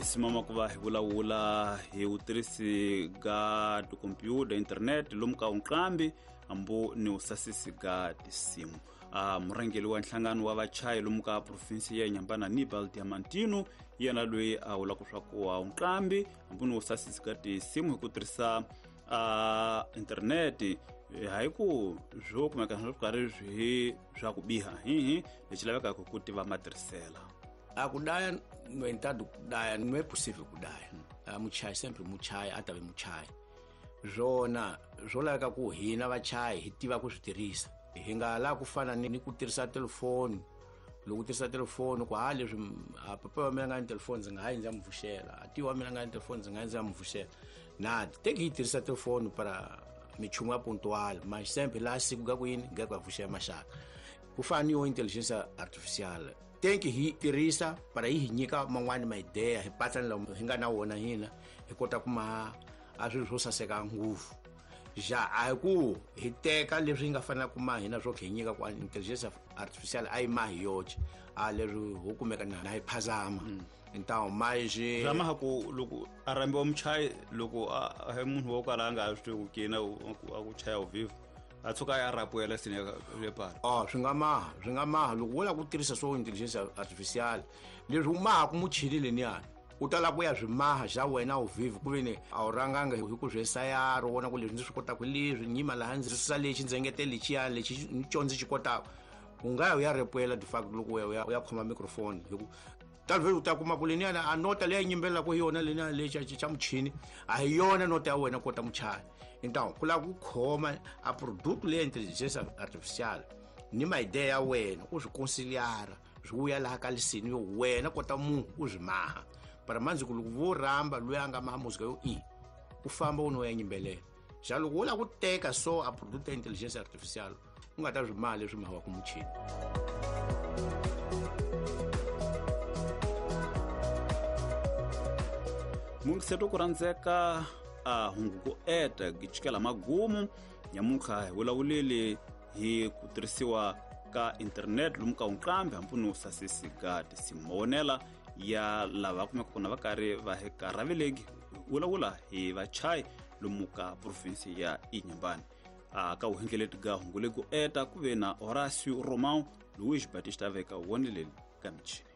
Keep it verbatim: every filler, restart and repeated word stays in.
Hi simama ku va hi vulavula hi vutirhisi ga tikhompyuta internet lomu ka unqambi hambu ni usasisi ga tisimu. A murhangeri wa nhlangano wa vachayi lomu ka provinsi ya Inhambane Aníbal Diamantino yena loyi a vulaka swa ku wa unqambi hambu ni usasisi ga tisimu hi ku tirhisa a internet hayi ku swo kumeka swi karhi swi swa ku biha hihi lexi lavekaka ku tiva matirhisela. A kudaya no entanto kudaya não é possível kudaya. A muchai sempre muchai atave muchai. Zvona zwo laveka ku hina vachai hi tiva ku swi tirhisa. Hi nga la ku fana ni ku tirhisa telefoni. Loko u tirhisa telefoni ku ha leswi a papa wa mina nga ni telefoni ndzi nga ha yi ndzi ya mu pfuxela. A tiwa wa mina nga ni telefoni ndzi nga yi ndzi ya mu pfuxela. Na teki yi tirhisa telefoni para michumu ya puntual, mas sempre lá siku ga ku yini ga ku pfuxela maxaka. Ku fana ni yo intelligence artificial. Tenki hi tirhisa para yi hi nyika man'wani ma ideya hi patsa lawa hi nga na wona hina hi kota ku ma a swilo swo saseka ngopfu. Ja a hi ku hi teka leswi hi nga fanela ku ma hina swo hi nyika ku intelligence artificial a yi ma hi yoxe a leswi ho kumeka na hi phazama. Então mas zama ha ku loko a rambiwa muchayi loko a hi munhu wo kala a nga swi tivi ku kina a ku chaya ao vivo a tshuka ya rapuela sine le para. Ah swi nga maha swi nga maha loko wo lava ku tirhisa swo intelligence artificial leswi u maha ku muchini leniyani u ta lava ku ya swi maha xa wena u vivo ku ve ni a wu rhanganga hi ku swi esayara u vona ku leswi ndzi swi kotaka leswi nyima laha ndzi susa lexi ndzi engetela lexiyani lexi ni xo ndzi xi kotaka u nga ya u ya repuela de facto loko u ya u ya u ya khoma microphone hi ku talvez u ta kuma ku leniyani a nota leyi yimbelelaka hi yona leniyani lexi xa muchini a hi yona nota ya wena kota muchaya. Então ku lava ku khoma a produto leya intelligence artificial ni ma ideya ya wena u swi conciliara swi vuya laha ka lisini yo wena kota munhu u swi maha. Para manzi ku loko vo rhamba loyi a nga maha muzika yo i u famba u no ya yimbelela. Xa loko wo lava ku teka so a produto ya intelligence artificial u nga ta swi maha leswi mahawaka muchini. Mungiseto ku rhandzeka a hungu ku eta gitshikela magumu nyamuntlha hi vulavuleli hi ku tirhisiwa ka internet lomu ka unqambi hambi no sasisi ga tisimu. Mavonela ya lava kumeka kona va karhi va hi karhaveleki vulavula hi vachayi lomu ka provinsi ya Inhambane. A ka vuhengeleti ga hungu legu eta ku ve na Horacio Romão Luiz Batista veka woneleli ka michini.